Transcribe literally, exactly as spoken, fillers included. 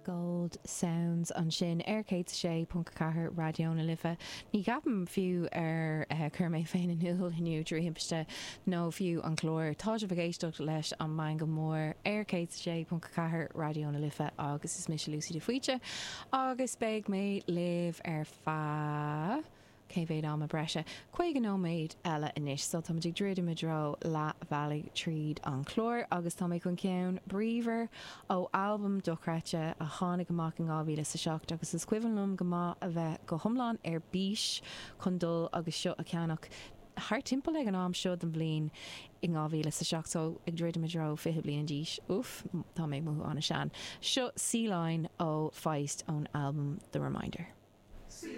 Gold Sounds ansin ar céad sé ponc ceathair Raidió na Life. Ní cheapaim fiú ar uh, chuir mé féin in iúl inniu trí thimpiste nó fiú an clár. Tá sibh ag éisteacht leis an Meangadh Mór ar céad sé ponc ceathair Raidió na Life agus is mise Lucy de Faoite agus beidh mé libh ar feadh cé mhéad ama breise. Caoga nóiméad eile anois, so tá ag druidim i dtreo leath bealaigh tríd an chlár agus tá mé chun ceann bríomhar ó albam dochreidte a tháinig amach in dhá mhíle sa seacht agus is cuimhin liom go maith a bheith go hiomlán ar bís chun dul agus seo a cheannach thar timpeall ag an am seo den bhliain in dhá mhíle sa seacht so ag druidim i dtreo fiche bliain d'aois. Uf, tá mé mothú an-sean. Seo Sea Lion ó Feist ón albam The Reminder. See